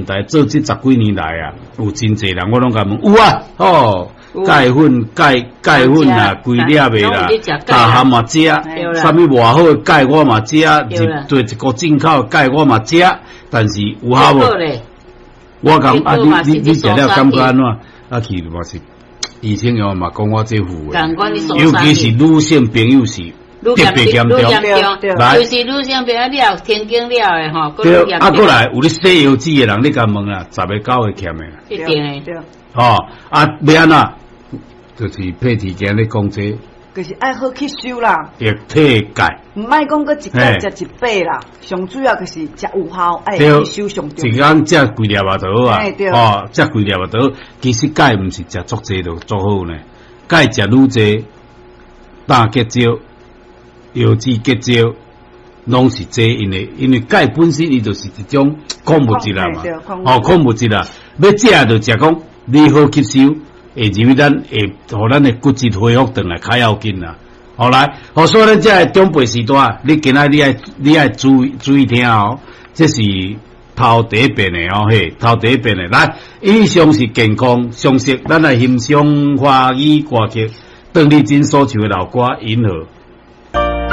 電台做這十幾年來啊，有真濟人，我攏共問有啊，吼，鈣粉、鈣鈣粉啊，規粒的啦，大漢嘛食，啥物偌好的鈣我嘛食，入對一個進口的鈣我嘛食，但是有效無？我講啊，你你你食了感覺按怎？啊，去嘛是醫生又嘛講我這副的，尤其是女性朋友是特別嚴重，來，就是女性朋友你也停經了的吼，對，啊，過來有咧洗腰子的人，你共問啦，10個9個欠的，一定的，吼，啊，欲按怎？就是佩蒂今咧講這，就是愛好吸收啦，液體鈣，毋愛講閣一擺食一擺啦，上主要就是食有效，愛吸收上重要。一工食幾粒啊就好啊，哦，食幾粒啊就好。其實鈣毋是食足濟就足好呢，鈣食愈濟，膽結石、腰子結石，攏是這因為因為鈣本身伊就是一種礦物質啦嘛，哦，礦物質啦，欲食就食講你好吸收。會入去咱會予咱的骨質恢復轉來較要緊啦。好來，好所以咱這个長輩時代，你今仔你愛你愛注意注意聽哦。這是頭第一遍的哦，嘿，頭第一遍的。來，以上是健康常識，咱來欣賞華語歌曲，鄧麗君所唱的老歌《銀河》。